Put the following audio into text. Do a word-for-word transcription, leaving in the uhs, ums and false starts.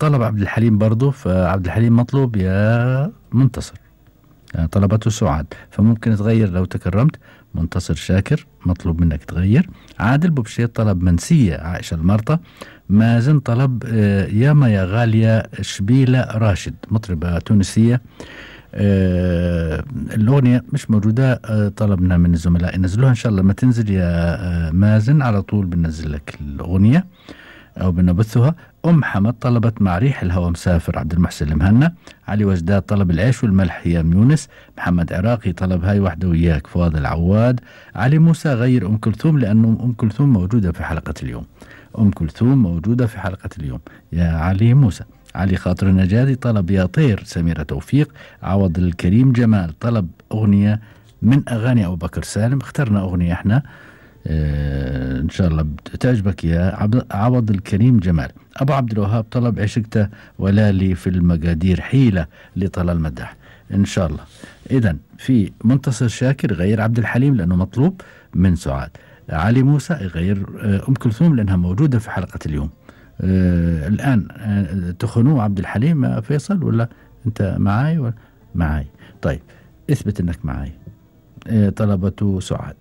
طلب عبد الحليم برضو، فعبد الحليم مطلوب يا منتصر. يعني طلبته سعاد، فممكن تغير لو تكرمت. منتصر شاكر مطلوب منك تغير. عادل بوبشيت طلب منسية عائشة المرطة. مازن طلب آه ياما يا غالية شبيلة راشد، مطربة تونسية. آه الأغنية مش موجودة. آه طلبنا من الزملاء ينزلوها إن شاء الله. ما تنزل يا آه مازن على طول بنزل لك الأغنية أو بنبثها. أم حمد طلبت مع ريح الهوى مسافر، عبد المحسن المهنا. علي وجداد طلب العيش والملح هيام يونس. محمد عراقي طلب هاي وحدة وياك، فؤاد العواد. علي موسى غير أم كلثوم لأنه أم كلثوم موجودة في حلقة اليوم. أم كلثوم موجودة في حلقة اليوم يا علي موسى. علي خاطر النجادي طلب يا طير سميرة توفيق. عوض الكريم جمال طلب أغنية من أغاني أبو بكر سالم. اخترنا أغنية احنا اه ان شاء الله تعجبك يا عوض الكريم جمال. ابو عبد الوهاب طلب عشقته ولا لي في المقادير حيلة لطلال المدح ان شاء الله. اذا في منتصر شاكر غير عبد الحليم لانه مطلوب من سعاد. علي موسى غير ام كلثوم لانها موجودة في حلقة اليوم. آه الان آه تخنوه عبد الحليم فيصل ولا انت معاي ولا معاي؟ طيب اثبت انك معاي. آه طلبته سعاد.